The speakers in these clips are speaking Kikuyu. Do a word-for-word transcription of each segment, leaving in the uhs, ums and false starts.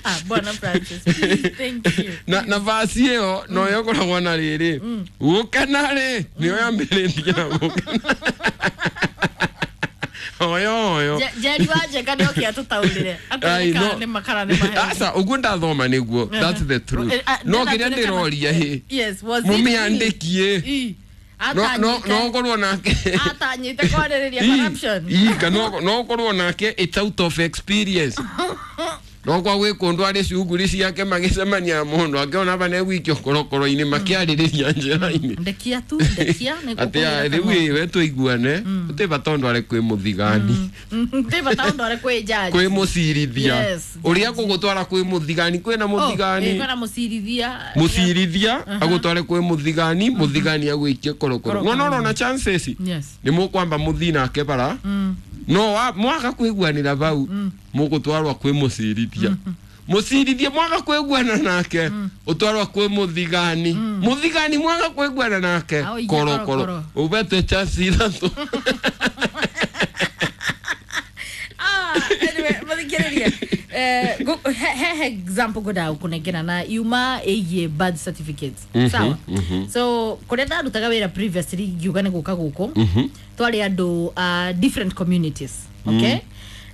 Ah, Bwana Francis, please, thank you. Na na vasi ĩyo no yokoragwo na rĩrĩ gũkena rĩ nĩyo yambĩrĩtie na gũkena oyo oyo. Je- Jerry Wanjeka nĩ oke atũtaũrĩre. Ai, Atwĩre no. kana nĩ makara nĩ maheni. Aca ũguo ndathoma nĩguo, that's the truth. Eh, ah, No ndĩna kĩrĩa twĩre kana- ndĩroria hĩ Yes, was it really? mũmĩandĩkie Ii. no no Atanyĩte- no ũkorwo nake atanyĩte kwarĩrĩria Ii, corruption. ii, kana no ũkorwo nake it's out of experience no kwa gwĩ kũndũ arĩ cuguri ciake magĩcemania mũndũ akĩona ba negwikio korokoro-inĩ makĩarĩrĩria njĩra-inĩ. Ndekia tu, ndekia nĩ atĩ ngũkũhũra rĩu kanua. ĩ we tũiguane tũtĩ bata ũndũ arĩ kwĩ mũthigani. Ti bata ũndũ arĩ kwĩ judge. Kwĩ mũcirithia. Yes. Ũrĩa gũgũtwara kwĩ mũthigani kwĩna Oh, mũthigani. eh, kwĩna mũcirithia. Mũcirithia agũtware kwĩ mũthigani, mũthigani agwĩkie korokoro. Korokoro. No no na chances Yes. nĩ mũkwamba mũthii nake bara no wa- mwaga kwĩguanĩra bau mũgũtwarwa kwĩ mũcirithia, mũcirithia mwaga kwĩguana nake ũtwarwa kwĩ mũthigani, mũthigani mwaga kwĩguana nake Aũikie korokoro. korokoro. Ũbete chance ithatũ. Ah, anyway, mũthikĩrĩria, eh, gu- he he example ngwendaga gũkũnengera na yuma ĩgiĩ birth certificates, sawa? So kũrĩa ndarutaga wĩra previously ngiuga nĩ gũka gũkũ twarĩ andũ a different communities, okay?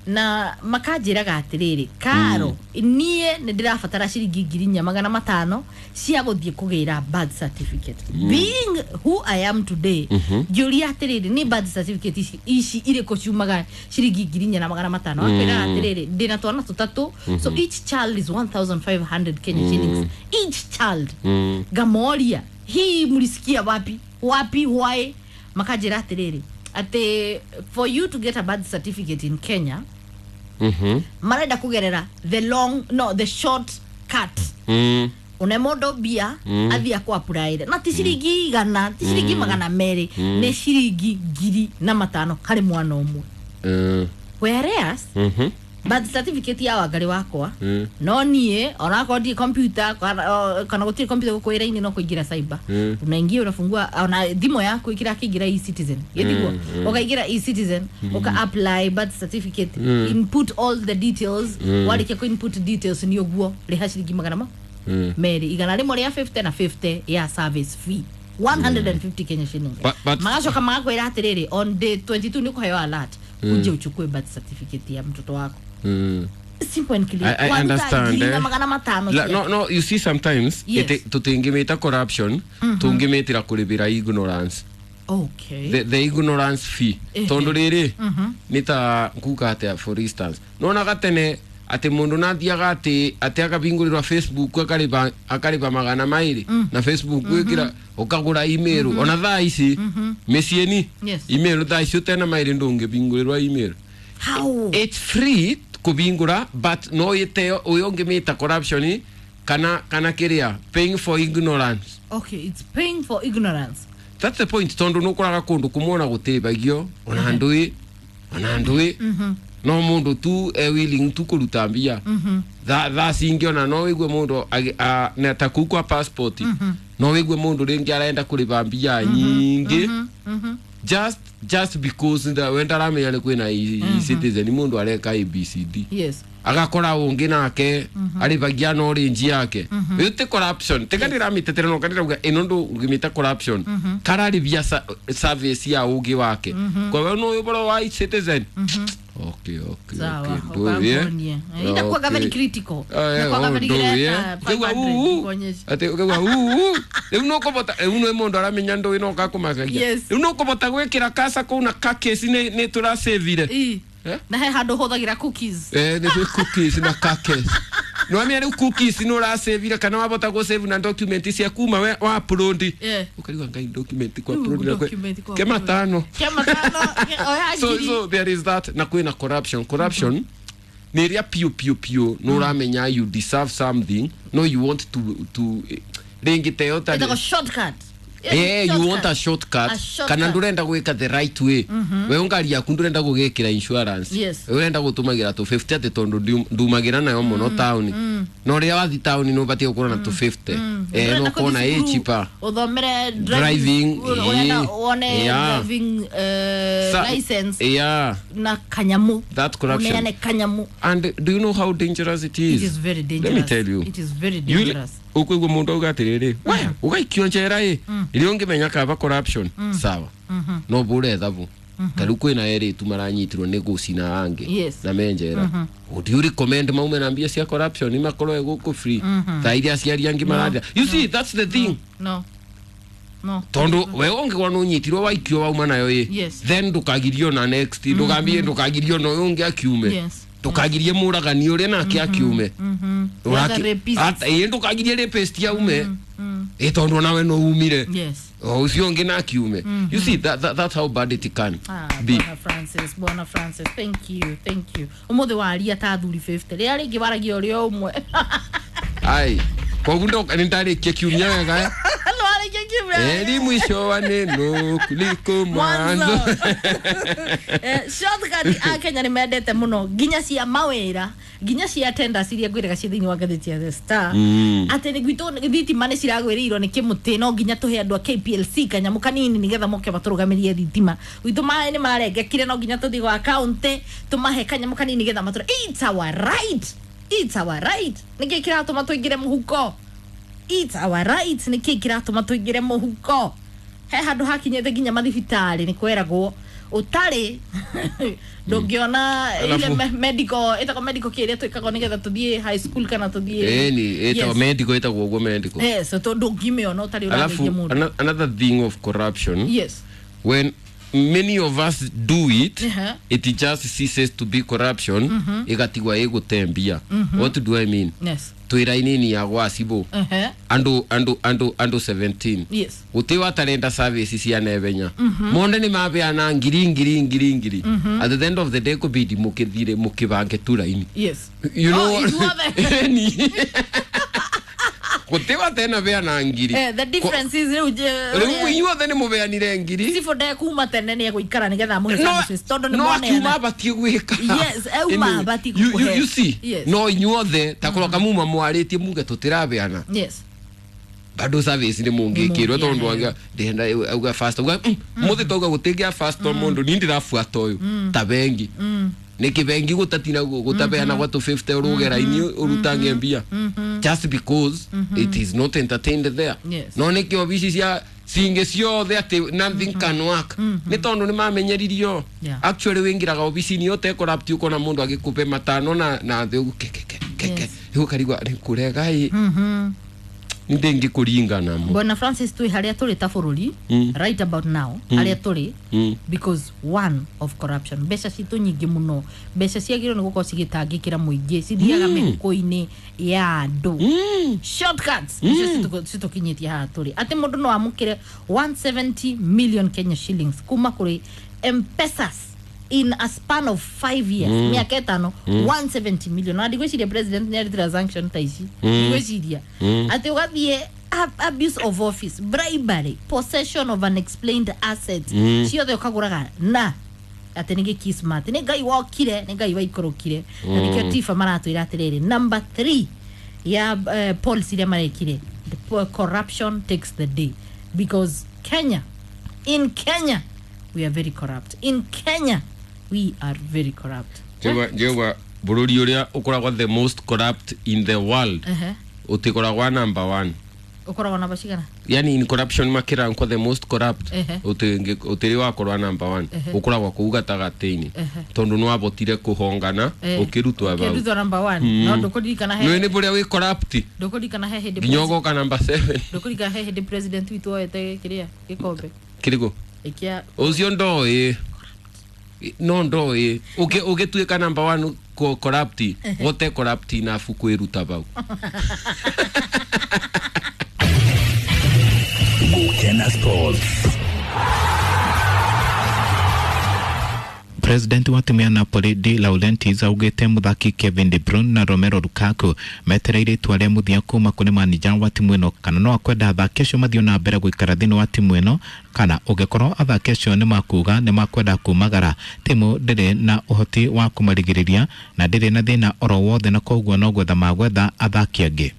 Na makanjĩraga atĩrĩrĩ, karo niĩ nĩ ndĩrabatara ciringi ngiri inya magana matano cia gũthiĩ kũgĩra birth certificate. Being who I am today, ngĩũria atĩrĩrĩ, nĩ birth certificate ici ici irĩkũ ciumaga ciringi ngiri inya na magana matano? Akwĩraga atĩrĩrĩ, ndĩna twana tũtatũ, so each child is one thousand five hundred Kenya shillings each child. Ngamoria, hii mlisikia wapi wapi, why? Makanjĩra atĩrĩrĩ, atĩ for you to get a birth certificate in Kenya Mhm. marenda kugerera the long, no, the short cut. Mm. Une mũndũ mbia athiĩ akũ-apply-ĩre na ti ciringi igana, ti ciringi magana merĩ, nĩ ciringi ngiri na matano harĩ mwana ũmwe. Mm. Whereas Mhm. birth certificate ya Wangarĩ wakwa Mm. no niĩ onakorwo ndirĩ computer kana o, kana gũtirĩ computer gũkũ wĩra-inĩ, no kũingĩra cyber. Mm. Unaingia, unafungua ona thimũ yaku ikira kĩingĩra e-Citizen gĩtiguo, ũkaingĩra e-Citizen, ũka apply birth certificate, input all the details. Warĩkia kũ input details nĩ ũguo rĩha ciringi magana ma Mm. merĩ, igana rĩmwe rĩa fifty na fifty ya service fee, one hundred fifty Kenya shillings. But- but- Magacoka magakwĩra atĩrĩrĩ, on day twenty-two nĩ ũkũheo alert uje uchukue birth certificate ya mtoto wako. Mm. Simple and clear. I, I Waruta understand. ngiri na Eh. magana matano La, cia- no, no, you see sometimes Yes. ite tutingimita corruption, tungimitira kuribira ignorance. okay the, the ignorance fee. Ehe. Tondu riri nĩ ta nkuga atia, for instance nonaga tene atĩ mũndũ nathiaga atĩ atĩ akabingũrĩrwa Facebook akariba akariba magana maĩrĩ na Facebook gwĩkĩra ũkagũra email. Ona thaa ici mĩciĩ-ni Yes. email thaa ici ũtena maĩrĩ ndũngĩbingũrĩrwa email. How? It's free kubingura, but no ĩteo ũyũ ũngĩmĩta corruption kana kana kĩrĩa paying for ignorance. Okay, it's paying for ignorance. That's the point, tondu nukoraga kundu kumwe gutibagio ona ndui ona ndui no mundu tu e willing tu kuruta mbia tha tha cingi. Ona no wigue mundu agi- a- na ta kuu kwa passport no wigue mundu ringi arenda kuriba mbia nyingi just just because nda wenda aramenya ni kwina e-Citizen, mundu areka A B C D, yes agakora ungi nake aribagia no range yake. Iyo ti corruption, tiga ndĩramĩtetera no kandirauga ĩno ndũngĩmĩta corruption, kararibia sa- service ya ũngĩ wake kwa we no ũhoro wa e-Citizen. okay okay Sawa. Okay, ndũĩ, eh? Ukangonie. Eh, inakuwaga very critical. Ah, eh, Inakuwaga oh, very ndũĩ, eh? greta, Ũkaigua five hundred uu, kuonyesha. atĩ ũkaigua uu, rĩu nũkũbota rĩu nĩ mũndũ aramenya ndũĩ no kakũmakagia. Yes. Rĩu nũkũbota gwĩkĩra kasa kũu na kakesi nĩ nĩ tũracĩvire. Ii. Eh? Na he handũ hũthagĩra cookies. Eh, nĩ twĩ cookies na kakes nĩwamenya rĩu cookies nĩ ũracĩvire kana wabota gũsave na document cia kuma we wa upload. Yeah. Ũkarigwa ngai document kwa Rĩu upload na kwe- document kwa ke upload. matano. Kia matano, ke- oya so ngiri. So there is that na kwĩna corruption. Corruption nĩ ĩrĩa piũ piũ piũ nĩ ũramenya you deserve something, no you want to to rĩngĩ teo Ĩtagwo ta shortcut. Eh, you want a shortcut, A shortcut. kana ndurenda gwika the right way. We ngari yaku ndurenda gugikira insurance. Yes. Urenda gutumagira tu fifty ati tondu ndumagira nayo muno town. No ria wathi town no batie gukorwo na tu fifty. Eh, no kona ĩ cheaper. Uthomere Driving, urenda eh, wone yeah. driving eh, Sa- license Yeah, na kanyamu. That corruption. Uneane kanyamu. And do you know how dangerous it is? It is very dangerous. Let me tell you. It is very You- dangerous. Ukwigua mundu auga atiriri, we ugaikio njera ĩ ĩrĩa ũngĩmenya kaba corruption sawa no bure thabu ta rĩu kwĩna erĩ tu maranyitirwo nĩ gũcina angĩ Yes. na me njera. Would you recommend maume na mbia cia corruption imakorwo gũkũ free ta iria aciari angĩ marathia? You see, that's the thing. No. No. Tondu we ũngĩkorwo nĩ ũnyitirwo waikio wauma nayo ĩ, Yes. then ndũkagirio na next, ndũgambie ndũkagirio na ũyũ ũngĩ akiume, Yes. ndũkagirie mũragani ũrĩa nake akiume. Other rapists. Ĩ ndũkagirie rapist aume ĩ tondu onawe no umire. Yes. O ũcio ũngĩ na akiume. You see, that, that, that's how bad it can Ah, be. Bwana Francis, Bwana Francis, thank you, thank you. Umuthi waria ta athuri fifty. Rĩrĩa rĩngĩ waragia ũrĩa ũmwe. Ai koguo ndo nĩ ndarĩkia kiumia wega eh? No warĩkia kiumia. Eri mwisho wa neno kuliko mwanzo. Mwanzo. Eh, shortcut a Kenya nĩ mendete mũno nginya cia mawĩra, nginya cia tenders iria ngwĩraga ciĩ thĩinĩ wa ngathĩti ya The Star. Mm. Atĩ nĩ gwitũ thitima nĩ ciragwĩrĩirwo nĩ kĩmũtĩ, no nginya tũhe andũ a K P L C kanyamũ kanini nĩgetha moke matũrũgamĩrie thitima. Gwitũ maĩ nĩ marengekire, no nginya tũthiĩ gwa county tũmahe kanyamũ kanini nĩgetha matũre. It's our right, it's our right. Nĩkĩ kĩratũma tũingĩre mũhuko? It's our right. Nĩkĩ kĩratũma tũingĩre mũhuko? He handũ hakinyĩte nginya mathibitarĩ nĩ kweragwo ũtarĩ ndũngĩona ile Alafu- me- medical, ĩtagwo medical kĩrĩa twĩkagwo nĩgetha tũthiĩ high school kana tũthiĩ. Ĩni ĩtagwo Yes. medical, ĩtagwo ũguo medical. Yes, so ndũngĩmĩona ũtarĩ Alafu ũrageithia mũndũ. ano- another thing of corruption, Yes. when many of us do it, Uh-huh. it just ceases to be corruption, igatigwa igutembia. What do I mean? Yes. Twĩ raini ya gwa cibũ, Uh-huh. andu andu andu andu seventeen. Yes. Guti watarenda service cia nebenya monde nĩ mabeana ngiri ngiri ngiri ngiri. At the end of the day kubidi mukithire mukibange tu raini. Yes. You know Oh, ithuothe. Eni. Guti watena beana ngiri. Eh, the difference is rĩu je- Rĩu inyuothe nĩ mũbeanire ngiri. Cibũ ndekuma tene nĩ egũikara nĩgetha amũhe No, services tondũ nĩ no akiuma moneana. abatie gwĩka. Yes, auma Anyway, abatie you- you- gũkũhe. you see, Yes. no inyuothe takorwo kamuma mwarĩtie muge tũtirabeana, Yes. bado service nĩ mũngĩkĩrwo tondũ Nĩ auga ndĩrenda auga fast, auga mm, mũthĩ tauga gũtingĩa fast to mũndũ ni ndĩrabuata ũyũ ta bengi nĩkĩ bengi gũtatina gũtabeana gwa tũ fifty ũrũge raini ũrutange mbia just because it is not entertained there. Yes. No nĩkĩ obici cia cingĩ ciothe atĩ nothing can work nĩ tondũ nĩ mamenyeririo. Yeah. Actually wĩingĩraga obici-inĩ ũte corrupt ũkona mũndũ agĩkũpe matano na na thĩ ũguo keke keke. Yes. Ũkarigwa nĩ kũrega ĩ Mhm. ndĩngĩkũringa namo. Bwana Francis, twĩ harĩa tũrĩ ta bũrũri Mm. right about now, harĩa tũrĩ Mm. because one of corruption, mbeca citũ nyingĩ mũno, mbeca ciagĩrĩirwo nĩ gũkorwo cigĩtangĩkĩra mũingĩ cithiaga mĩhuko-inĩ ya andũ. Mm. Shortcuts nicio citũ- citũkinyĩtie haha tũrĩ atĩ mũndũ no amũkĩre one hundred seventy million Kenya shillings kuma kũrĩ Mpesas in a span of five years, mĩaka ĩtano, one hundred seventy million. Na ndigwĩciria president nĩ arĩ transaction ta ici. Ndigwĩciria atĩ ũgathiĩ ab- abuse of office, bribery, possession of unexplained assets, ciothe ũkagũraga na atĩ nĩ gĩkismat, nĩ Ngai wokire, nĩ Ngai waikũrũkire. Na nĩkĩo tiba maratwĩra atĩrĩrĩ, number three ya uh, policy iria marekire, the po- corruption takes the day, because Kenya, in Kenya we are very corrupt. In Kenya we are very corrupt. Njegwa bũrũri ũrĩa ũkoragwo the most corrupt in the world Ehe. ũtikoragwa number one. Ũkoragwo namba cigana? Yani in corruption makĩrankwo the most corrupt, Ehe. ũtĩngĩ- ũtĩrĩ wakorwa number one, ũkoragwo kũu gatagatĩ-inĩ tondũ nĩ wabotire kũhongana Eh, ũkĩrutwo bau. Ũkĩrutwo number one, no ndũkũririkana he Nĩ nĩ bũrĩa wĩ corrupt ndũkũririkana he hĩndĩ nginya ũgoka number seven. Ndũkũririkana he hĩndĩ president witũ oete kĩrĩa gĩkombe Kĩrĩkũ? ĩkĩa Ũcio ndoĩ, no ndoĩ ũgĩtuĩka number one ko corrupt gote corrupt enough kwĩruta bau. Gukena Sports. President wa timu ya Napoli De Laurentiis augite muthaki Kevin De Bruyne na Romelu Lukaku metereire itua rĩa mũthia kuma kũrĩ manija wa timu ĩno kana no akwenda athaki acio mathiĩ na mbere gũikara thĩinĩ wa timu ĩno kana ũngĩkorwo athaki acio nĩ makuga nĩ makwenda kumagara timu ndĩrĩ na ũhoti wa kũmarigĩrĩria na ndĩrĩ na thĩna oro wothe na koguo no gwetha magwetha athaki angĩ.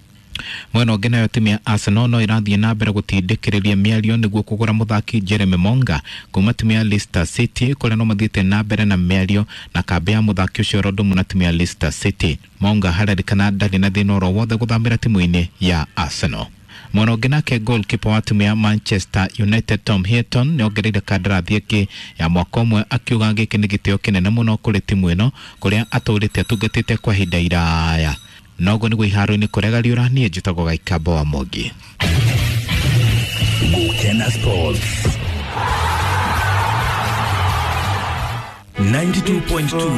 Mwena ũngĩ nayo timu ya Arsenal no ĩrathiĩ na mbere gũtindĩkĩrĩria mĩario nĩguo kũgũra mũthaki Jeremy Monga kuma timu ya Leicester City kũrĩa no mathiĩte na mbere na mĩario na kambĩ ya mũthaki ũcio oro ũndũ ũmwe na timu ya Leicester City. Monga harerĩkana ndarĩ na thĩna oro wothe gũthamĩra timu-inĩ ya Arsenal. Mwena ũngĩ nake goalkeeper wa timu ya Manchester United Tom Heaton nĩongereire kandarathi ĩngĩ ya mwaka ũmwe akiuga gĩkĩ nĩ gĩtĩo kĩnene mũno kũrĩ timu ĩno kũrĩa atũrĩte atungatĩte kwa ihinda iraya. Noguo nĩguo iharo-inĩ kũrega riũra niĩ njĩtagwo Gaikambo wa Mwangi. Gukena Sports ninety-two point two.